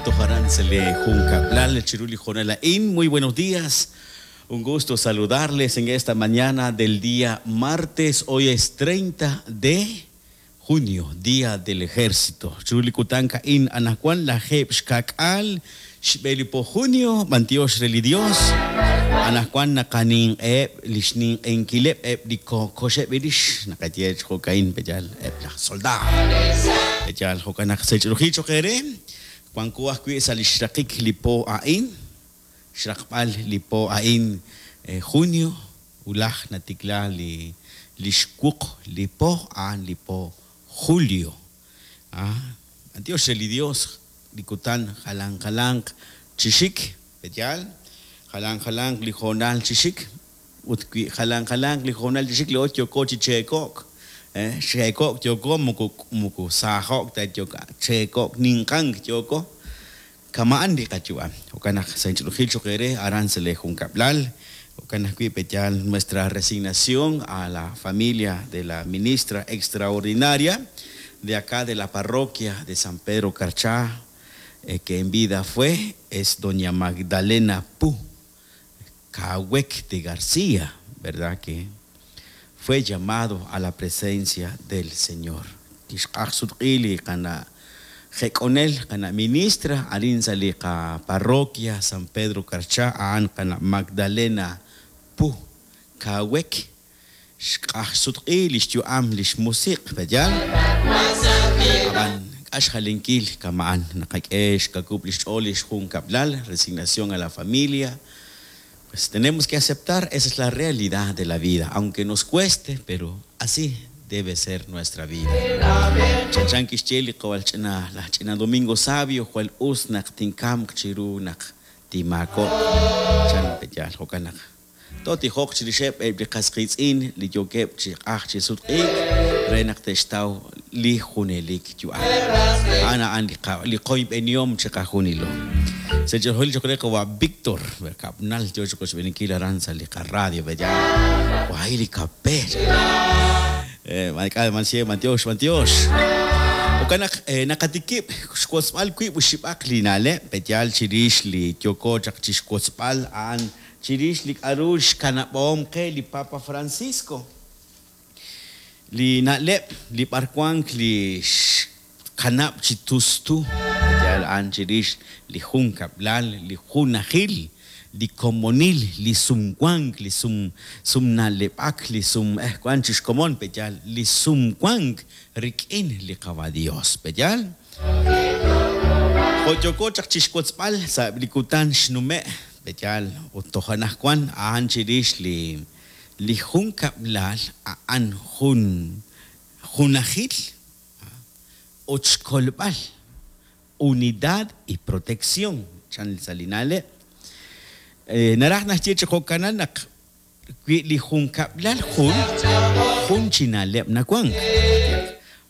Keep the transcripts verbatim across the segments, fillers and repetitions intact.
Tojaran Juncablan, Chiruli Jonalaín. Muy buenos días. Un gusto saludarles en esta mañana del día martes. Hoy es treinta de junio, Día del Ejército. Chiruli Kutanka in Anajuan, la Jeb Xkakal, Xbelipo junio, Mantiox Relidios. Anajuan nakanin eb, lishnin enkileb eb, liko kosheb irish, nakatiech jokain peyal eb la soldado. Peyal jokanak sechrujicho kere. Juan Kuaj Salishrakik lipo ain, Shrakpal lipo ain junio, ulaj natikla li lishkuk lipo an lipo julio. Ah, Dios el Dios likutan jalan jalan chishik, peyal, jalan jalan lijonal chishik, utki jalan jalan lijonal chishik le ocho kochi chekok. Chekok yoko muku muku sahok ta yoka chekok ninkan yoko kamaan di kachua okana sanchurujil chokere arancele juncaplal okana petyal nuestra resignación a la familia de la ministra extraordinaria de acá de la parroquia de San Pedro Carchá, eh, que en vida fue es doña Magdalena Pu Cahuec de García, verdad que fue llamado a la presencia del Señor. Ministra parroquia San Pedro Carchá Magdalena Pu Cahuec resignación a la familia. Pues tenemos que aceptar, esa es la realidad de la vida, aunque nos cueste, pero así debe ser nuestra vida. Chanchan kixcheli qawal ch'ina la ch'ina Domingo Sabio jwal us naq tinkam chiru naq timako chan peyal jokanaq toti joq chirixeb eb li qasqitz'in li yokeb chi q'aj chi sutq'iik re naq textaw li junelik yu'am ana an li qoyb'eniom chi qajunilo. Se yo creo que va Víctor, Capnal, yo creo que aranza li radio, bella. Guay li capé. Eh, mansie, mantiox, mantiox. Okana nakatikip, xkotzbal kui bushibak li nale, petyal chirish li yoko chak chixkotzbal an chirish li arush kanabom ke li Papa Francisco. Li nale, li parkuank li kanab chitustu. An chirix li juncablal li junajil li komonil li sumkuank li sum sumnalepak li sum eh kuan chixkomon peyal li sumkuank rikin li qaba Dios peyal joyoko chak chixkotzbal sa likutan xnume peyal utojanaj kuan an chirix li li juncablal an jun junajil ochkolbal unidad y protección. Chan salinale. Naraj nachie chocanal nak li juncablal jun jun chinalep nakuan.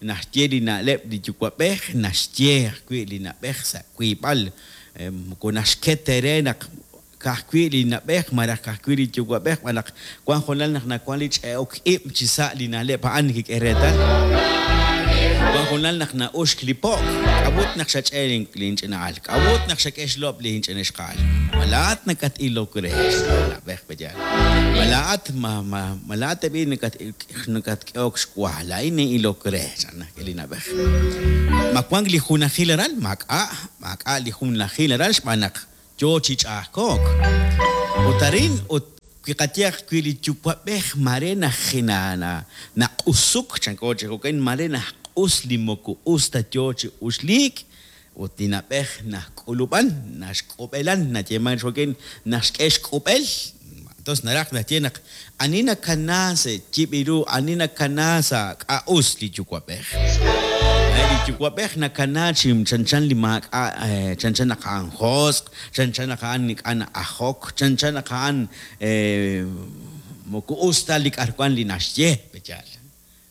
Nachie li nalep li yucuapej nachie kui li napej sa kuipal konashketere nak kahkui li napej maraj kahkui li yucuapej malak kuan jonal nak nakuan li cheok ip chisa li nalep an kikeretal. Juan nak na ush klipok, abut nak siya cheling klinch na alk, abut nak siya keshlop linch na eskal. Malaat nakat ilok res, malabek pa dyan. Malaat ma ma malaat tabi nakat nakat keok skwala ini ilok res, anak ilinabek. Makwang li hunahilaral, maka maka li hunahilaral manak yo chichakok. Utarin ut Kikatiak kwili chupapeh marena hinana na usuk chankoche kokain marena us limoku usta yochi uslik utinapeh na kulupan na xkupelan na yeman xoken na xk'exk'upel. Entonces naraj na tienak anina kanase chibiru anina kanasa ka us li chukwapeh li chukwapeh na kanachim chanchan limak chanchan nakaan hosq chanchan nakaan nikan ahok chanchan nakaan moku usta lik arkuan li naxye pechal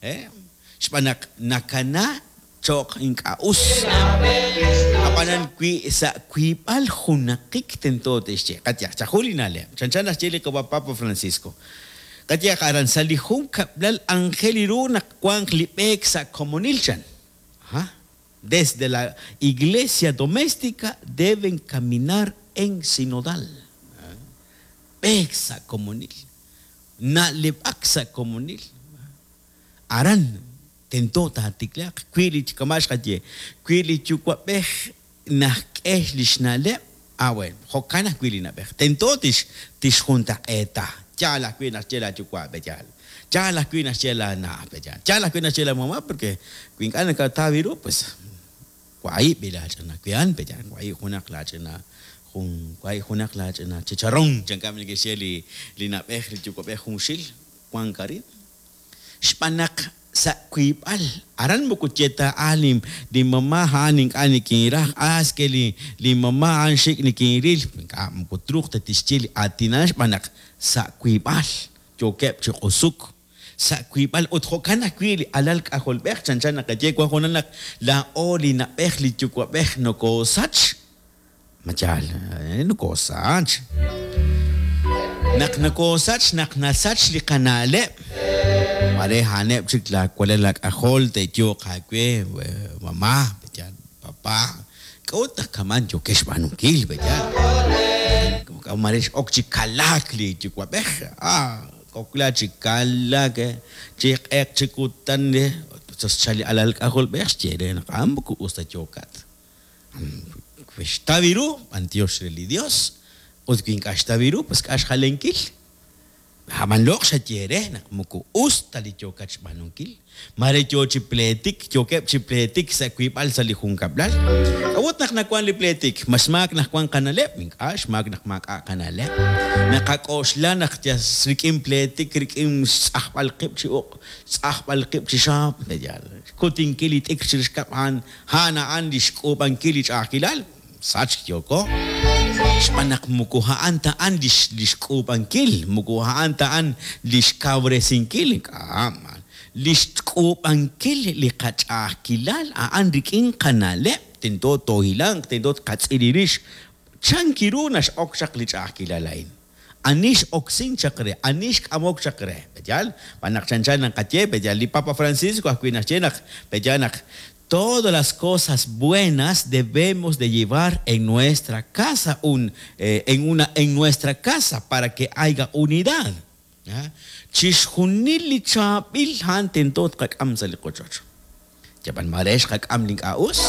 eh xpanak nakana chok inka us apanan kui sa kuipal junakik tento texche katya chajulinale chanchan naxye li Papa Francisco katya karan salihun kablal angeliru nak kuang lipek sa komonilchan ha Desde la iglesia doméstica deben caminar en sinodal. B'eek sa' komonil, na'leb'ak sa' komonil. Aran tento taatiklaaq wi li kama' xqaye, wi li yuwa'b'ej najk'e li xna'leb', ah bueno, jo'kan ajwi' li na'b'ej. Tento tix tixjuntaq'eeta. Yaal ajwi' naxye laayuwa' yaal. Yaal ajwi' naxye laana' yaal. Yaal ajwi' naxye laamama' porque wi ink'a' nakataw ru, pues wahi' b'i laach'ina wi'an yaal, wahi' junaq laach'ina jun wahi' junaq laach'ina chicharrón chankam neke'xye li li na'b'ej li yuwa'b'ej junxil wank arin. Xb'aan naq sa' wiib'al aran moko ye ta ah li li mamá a'an ink'a' nikinraj, ah es que li li mamá a'an xik' nikinril, ink'a' moko truuq ta tixye li aatin xb'aan naq sa' wiib'al yookeb' chi q'usuk sa' wiib'al ut jo'kan ajwi' li alal k'ajolb'ej chanchan naqaye wan junal naq laa'o li na'b'ej li yuwa'b'ej nokoosach, ma yaal, nokoosach. Naq nokoosach, naq nasach li qana'leb', mare a'aneb' chik laawalal laak'ajol te'yooq aawe, mamá, yaal, papá, k'a'ut naq kaman yookex xb'aanunkil, yaal. Mare x'ok chi kalaak li yuwa'b'ej, ah, kokla chi kalaak, chi q'eq chi kutan, xchal li alal k'ajolb'ej xye re naq a'an moko us ta yookat. Wi xtaw ru, b'antiox re li Dios, ut wi ink'a' xtaw ru, pues k'a' xjalenkil. Ab'an loq' xaye re naq moko us ta li yookat xb'aanunkil. Mare yoo chi pleetik, yookeb' chi pleetik sa' wiib'al sa' li junkab'lal. K'a'ut naq nawan li pleetik? Ma xmaak naq wan qana'leb'? Ink'a' xmaak naq maak'a' qana'leb'. Naqak'oxla naq yas rik'in pleetik, rik'in xtz'ajb'al qib' chi uq', xtz'ajb'al qib' chi xaab', yaal, xkutinkil li t'ikr chirix kab' a'an, a'an a'an li xk'uub'ankil li ch'a'ajkilal, sachk yooko. Xb'aan naq moko a'an ta a'an li li xk'uub'ankil, moko a'an ta a'an li xkawresinkil, ink'a' li xk'uub'ankil li qach'a'ajkilal a'an rik'in qana'leb', tento toohilanq, tento tqatz'il rix. Chan kiru nax'ok chaq li ch'a'ajkilal a'in. Ani x'oksin chaq re, ani xk'amok chaq re, yaal, b'aan naq chanchan naqaye, yaal, li Papa Francisco ajwi' naxye naq, yaal naq todas las cosas buenas debemos de llevar en nuestra casa, un, eh, en, una, en nuestra casa para que haya unidad. Chixjunil li chaab'il a'an tento tqak'am sa' li qochoch. Yab'an mare xqak'am li ink'a' us,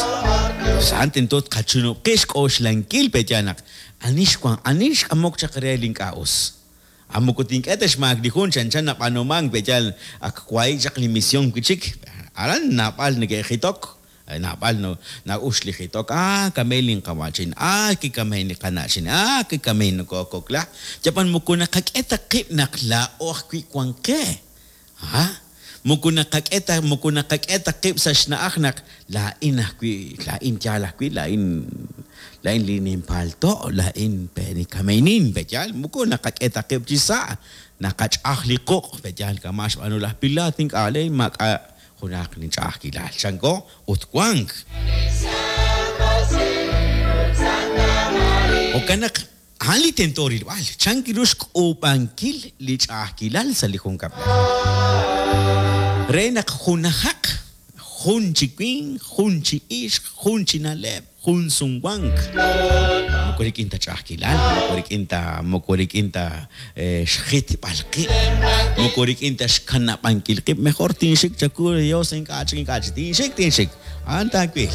a'an tento tqachunub' qi xk'oxlankil pe yaal naq ani xwan, ani xk'amok chaq re li ink'a' us. A moko tink'e ta xmaak li jun chanchan nab'aanumank pe yaal ak wahi' chaq li misión wi' chik. Aran naab'al neke'jitok, naab'al no na'ux li jitok, ah, kamey linqawa'chin, ah, kikamey li qana'chin, ah, kikamey nokokokla. Yab'an moko naqak'e ta qib' naq laa'o ajwi' wan qe. Ah, moko naqak'e ta, moko naqak'e ta qib' sa' xna'aj naq laa'in ajwi', laa'in yaal ajwi', laa'in laa'in li ninpalto', laa'in pe nikameynin, pe yaal, moko naqak'e ta qib' chi sa', naqach'aj li quq', pe yaal kama' xb'aanu laj Pilato, ink'a' le maak'a' junaq li ch'a'ajkilal. Chanko ut wank. Jo'kan naq a'an li tento rilb'al, chan kiru xk'uub'ankil li ch'a'ajkilal sa' li junkab'lal. Re naq junajaq, jun chi winq, jun chi ixq, jun chi na'leb', jun sumwank. Moko rik'in ta ch'a'ajkilal, moko rik'in ta, moko rik'in ta xjitb'al qib', moko rik'in ta xkanab'ankil qib', mejor tinxik chaku Dios ink'a' chik, ink'a' chik, tinxik, tinxik, a'an taawil.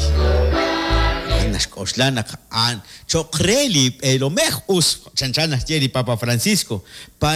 Naxk'oxla naq a'an cho'q re li b'eelomej us, chanchan naxye li Papa Francisco, para